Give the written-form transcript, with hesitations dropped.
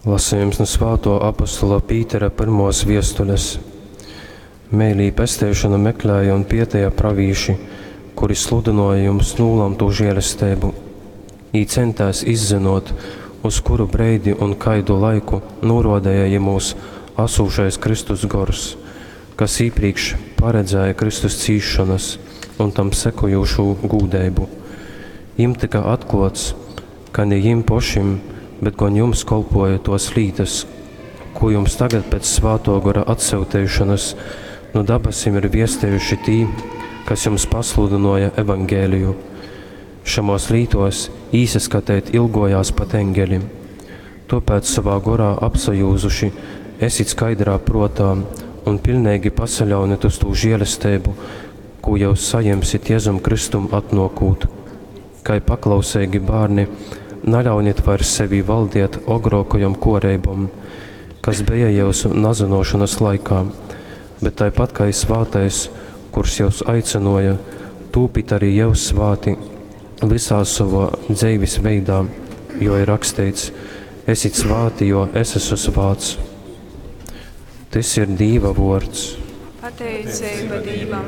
Lasejums nu svātuo apostola Pītera pyrmuos viestules. Meilī, pesteišonu meklēja un pieteja pravīši, kuri sludynuoja jums nūlamtū žielesteibu. Jī ceņtēs izzynuot, uz kuru breidi un kaidu laiku nūruodeja jymūs asūšais Kristus Gors, kas īprīkš paredzēja Kristus cīsšonas un tam sekojūšū gūdeibu. Jim tyka atkluots, ka ni jim pošim, bet gon jums kolpuoja tuos lītys, kū jums tagad pēc Svātuo Gora atsyuteišonys nu dabasim ir viestejuši tī, kas jums pasludynuoja Evangeliju. Šamuos lītuos īsaskateit ilgojās pat engeli. Tuopēc, sovā gorā apsajūzuši, esit skaidrā pruotā un piļneigi pasaļaunit uz tū žielesteibu, kū jyus sajemsit Jezum Kristum atnuokūt. Kai paklauseigi bārni, naļaunit vairs sevī valdiet ogrōkajom kōreibom, kas beja jyusu nazynōšonas laikā, bet taipat kai svātais, kurs jyus aicynōja, tūpit arī jyus svāti vysā sovā dzeivis veidā, jo ir raksteits, Esit svāti, jo es esmu svāts. Tys ir Dīva vōrds. Pateiceiba Dīvam.